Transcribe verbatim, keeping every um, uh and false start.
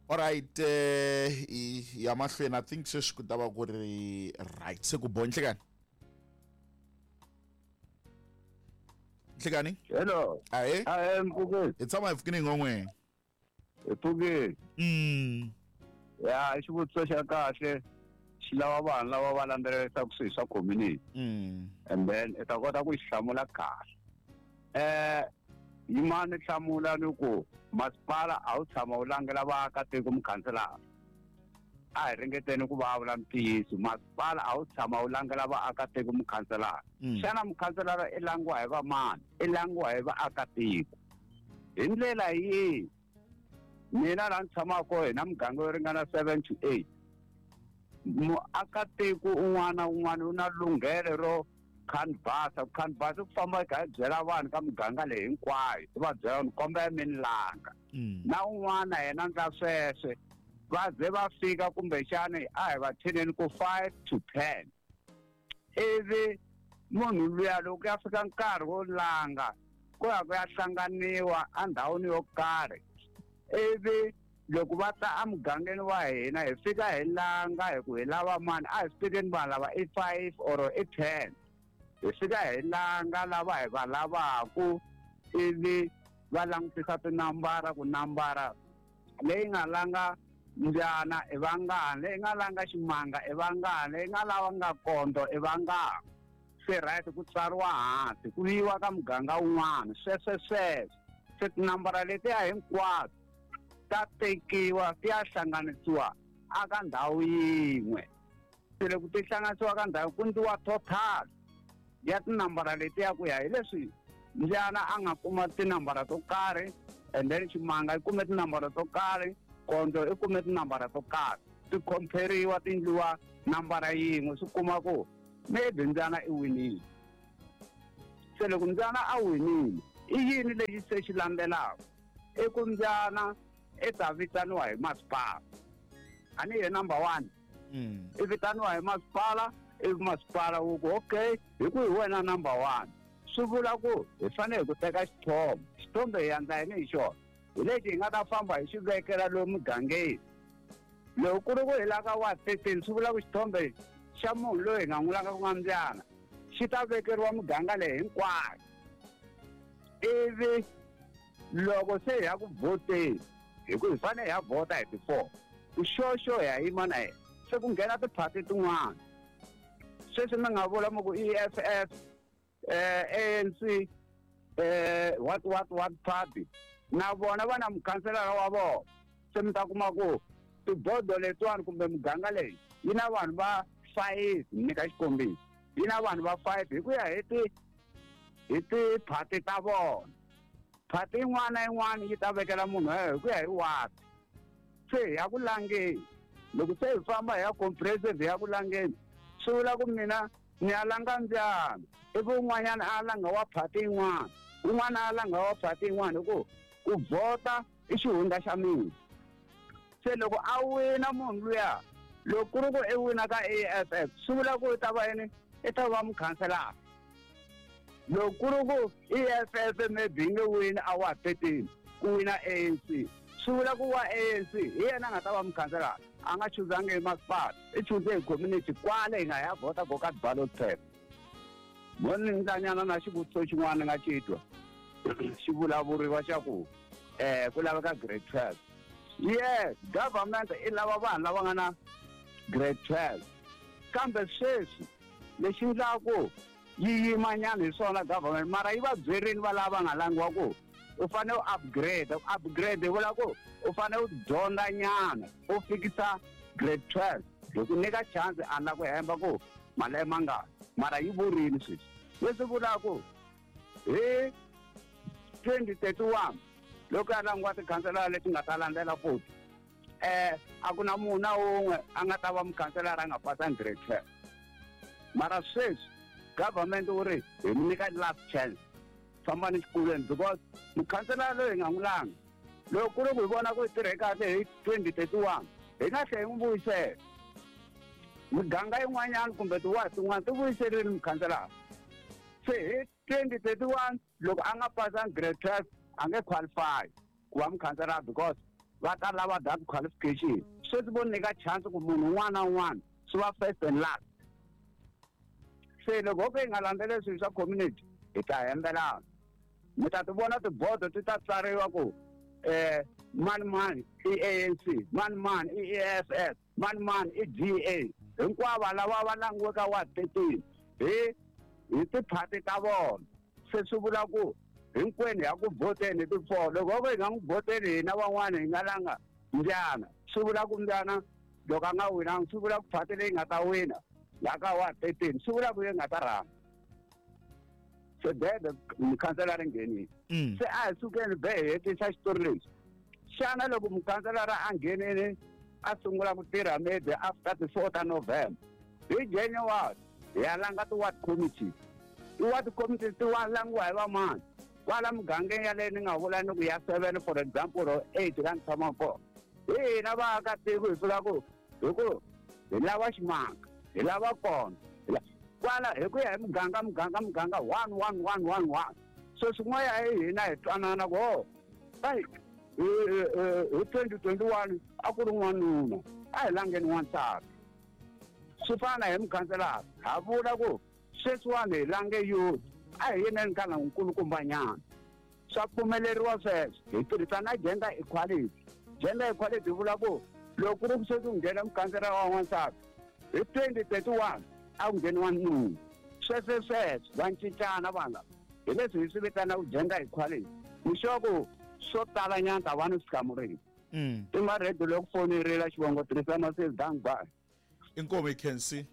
Alright, eh ya mahlweni I think sweswi ku ta va ku ri right. Se ku bo Nhlekani. Nhlekani? Hello. Ahe. Ahe mpfukeni. Hi tshama hi pfukini ngon'we. Hi pfukini. Mm. Ya, i xivutiso xa kahle. Xi lava vanhu lava va landzelerisaka swilo swa community. Mm. And then i ta kota ku xi hlamula kahle. Eh yimani hlamula ni ku masipala a wu tshama wu langela vaakatiko mukhanselara. A hi ringeteni ku va vula ntiyiso, masipala a wu tshama wu langela vaakatiko mukhanselara. Xana mukhanselara i langiwa hi vamani? I langiwa hi vaakatiko. Hi ndlela yihi? Mina laha ni tshamaka kona hi na muganga yo ringana seven to eight. Muakatiko un'wana na un'wana u na lunghelo ro canvas, canvas ku famba hi kha hi byela vanhu ka muganga leyi hinkwayo, i va byela ni kombela mi ni langa. Na un'wana yena ndla sweswe va ze va fika kumbexani a hi va thineni ku five to ten. Ivi munhu luya loko ya fika nkarhi wo langa ku ya ku ya hlanganiwa endhawini yo karhi, ivi loko va ta emugangeni wa hina hi fika hi langa hi ku hi lava mani, a hi swi tekeni vanhu lava i five or i ten. Hi fika hi langa lava hi va lavaku, ivi va langutisa tinambara ku nambara leyi nga langa mbyana i vangani, leyi nga langa ximanga i vangani, leyi nga lava nga kondo i vangani. Se right ku tsariwa hansi ku yiwa ka muganga wun'wana, sweswe sweswo. Se tinambara letiya hinkwato ta tekiwa ti ya hlanganisiwa aka ndhawu yin'we. Se loko ti hlanganisiwa ka ndhawu ku endliwa total ya tinambara letiya ku ya hi leswi mbyana a nga kuma tinambara to karhi, and then ximanga yi kume tinambara to karhi, kondo i kume tinambara to karhi, ti compare-iwa ti endliwa nambara yin'we, swi kuma ku maybe mbyana i winile. Se loko mbyana a winile, i yini lexi se xi landzelaka? I ku mbyana i ta vitaniwa hi masipala. A ni ye number one. Mm. I vitaniwa hi masipala, ivi masipala wu ku okay, hi ku hi wena number one. Swi vula ku hi fanele hi ku teka xithombe. Xithombe hi endla yini hi xona? Hi lexi hi nga ta famba hi xi vekela lomu mugangeni. Loko ku ri ku hi laka wa thirteen, swi vula ku xithombe xa munhu loyi hi nga n'wi langa ku nga mbyana xi ta vekeriwa muganga leyi hinkwayo. Ivi loko se hi ya ku vhoteni, hi ku hi fanele hi ya vhota hi ti-four, ku xoxo hi ya yima na yena. Se ku nghena tiphati tin'wana. Sweswi mi nga vula mi ku E F F, eh, A N C, eh, what, what, what party, na vona va na mukhanselara wa vona. Se mi ta kuma ku tibodo letiwani kumbe muganga leyi yi na vanhu va five, ni nyika xikombiso, yi na vanhu va five hi ku ya hi ti hi tiphati ta vona. Phati yin'wana na yin'wana yi ta vekela munhu hi ku ya hi ward. Se hi ya ku langeni, loko se hi famba hi ya comprehensive hi ya ku langeni, swi vula ku mina ni ya langa mbyana, ivi un'wanyana a langa wa phati yin'wana, un'wana a langa wa phati yin'wana, hi ku ku vhota i xihundla xa mina. Se loko a wina munhu luya, loko ku ri ku i wina ka A F F, swi vula ku i ta va yini? I ta va mukhanselara. Loko ku ri ku E F F maybe yi nge wini a wa thirteen, ku wina A N C, swi vula ku wa A N C hi yena a nga ta va mukhanselara. A nga chuzangi hi masipala, i chuze hi community kwale hi nga ya vhota ko ka ballot paper. Mo ni ndlanyana na xivutiso xin'wana ni nga xi twa xi vulavuriwa xa ku eh ku laveka grade twelve. Yes, government i lava vanhu lava nga na grade twelve, kambe sweswi lexi endlaku yi yimanyana hi swona government, mara yi va byerini va lava nga langiwa ku u fanele u upgrade. U upgrade hi vula ku u fanele u dyondza nyana u fikisa grade twelve, hi ku nyika chance a la ku hemba ku malembe mangani, mara yi vurini sweswi. Leswi vulaka ku hi twenty thirty-one loko ya langiwa tikhanselara leti nga ta landzela futhi, eh a ku na munhu na wun'we a nga ta va mukhanselara a nga pasanga grade twelve. Mara sweswi government wu ri hi mi nyika last chance, fambani xikolweni, because mukhanselara loyi hi nga n'wi langa, loko ku ri ku hi vona ku hi tirhe kahle hi twenty thirty-one, hi nga tlhela hi n'wi vuyisela. Miganga yin'wanyana kumbe tiwadi tin'wana ti vuyiserile mukhanselara. Se hi twenty thirty-one loko a nga pasanga grade twelve a nge qualify ku va mukhanselara, because Va ta lava that qualification. Sweswi vo nyika chance ku munhu un'wana na un'wana swi va first and last. Se loko ho ka hi nga landzeleli swilo swa community hi ta hembelana. Mi ta ti vona tibodo ti ta tsariwa ku eh mani mani i A N C, mani mani i E F F, mani mani i G A. Hinkwavo lava va langiweke wa thirteen hi hi tiphati ta vona. Se swi vula ku hinkwenu ya ku vhoteni ti four. Loko ho ka hi nga n'wi vhoteni hina van'wana hi nga langa Mbyana, swi vula ku Mbyana loko a nga winanga swi vula ku phati leyi nga ta wina la ka wa thirteen swi vula ku yi nga ta rhanga. Se bebe mukhanselara nghenile. Se a hi sukeni be hi hetisa xitori lexi. Xana loko mukhanselara a nghenile a sungula ku tirha maybe after the fourth of November hi January hi ya langa ti-ward committee. Ti-ward committee ti wa langiwa hi vamani? Kwala mugangeni yaleyo ni nga vula ni ku ya seven for example or eight la ni tshamaka kona. Hi hina vaakatiko hi fika ku hi ku hi lava ximanga, hi lava kona. Kwala hi ku ya hi muganga muganga muganga one one one one one. So swin'wana hi hina hi twanana ku ho hi hi twenty twenty one a ku ri n'wanuna a hi langeni n'wansati. Swi fana hi mukhanselara ha vula ku sweswiwani hi lange youth a hi yineni ka na nkulukumbanyana. Swa pfumeleriwa sweswo hi tirhisa na gender equality. Gender equality vula ku loko ku ri ku sweswi ku nghena mukhanselara wa n'wansati hi twenty thirty one a ku ngheni wanuna. Sweswo sweswo va cincana vanhu lava. Hi leswi hi swi vitanaka gender equality. Ni sure ku swo tala nyana ta va ni swi hlamurile. I ma ready loko foni yi rila xivongo tirhisa message down by. Inkomo I can see.